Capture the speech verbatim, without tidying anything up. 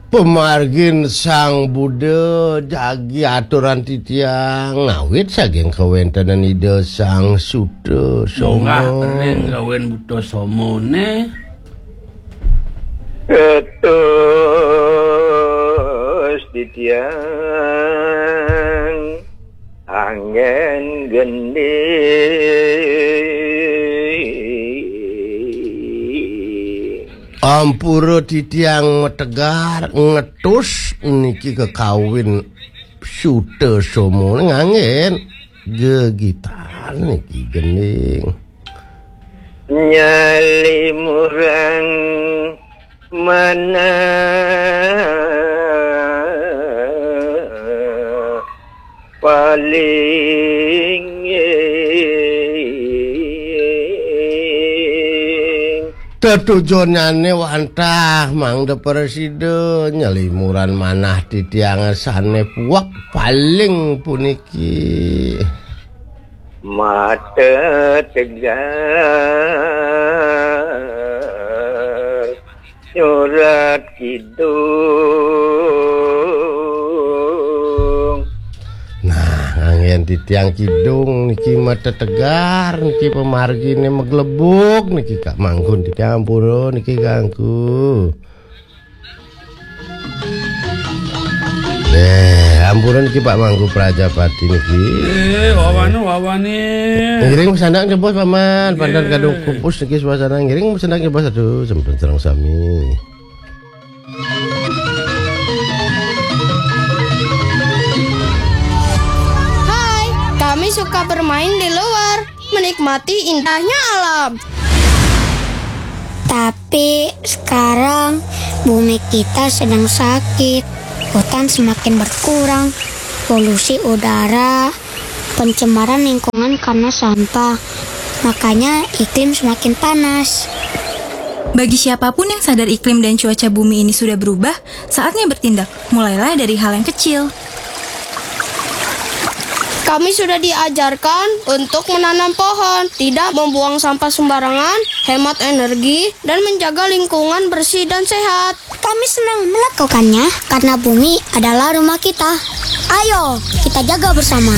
Pemargin Sang Buddha jagi aturan titiang ngawit saking kawéntenan Ida Sang Suta Soma. Munggah ring gawén buta somané. Kados titiang anggén gending. Ampura titiang mategar ngetus niki kakawin Suta Soma nganggén gegitan niki gending. Nyalimurang manah paling. Tetujonané wantah mangda prasida nyalimuran manah titiang sané puek paling puniki. Mata tegar nyurat kidung. Nah, anggén titiang kidung niki mata tegar niki pamarginé maglebug niki Kak Manggun titiang ampura niki ganggu. Eh, ampura niki Pak Mangku Prajapati niki. Eh, wawane, wawane. Ngiring sandang jebos Paman, pandan kadung kupus niki suasana ngiring sandang jebos aduh sampun sareng sami. Hai, kami suka bermain di luar, menikmati indahnya alam. Tapi sekarang bumi kita sedang sakit. Hutan semakin berkurang, polusi udara, pencemaran lingkungan karena sampah. Makanya iklim semakin panas. Bagi siapapun yang sadar iklim dan cuaca bumi ini sudah berubah, saatnya bertindak. Mulailah dari hal yang kecil. Kami sudah diajarkan untuk menanam pohon, tidak membuang sampah sembarangan, hemat energi, dan menjaga lingkungan bersih dan sehat. Kami senang melakukannya karena bumi adalah rumah kita. Ayo, kita jaga bersama.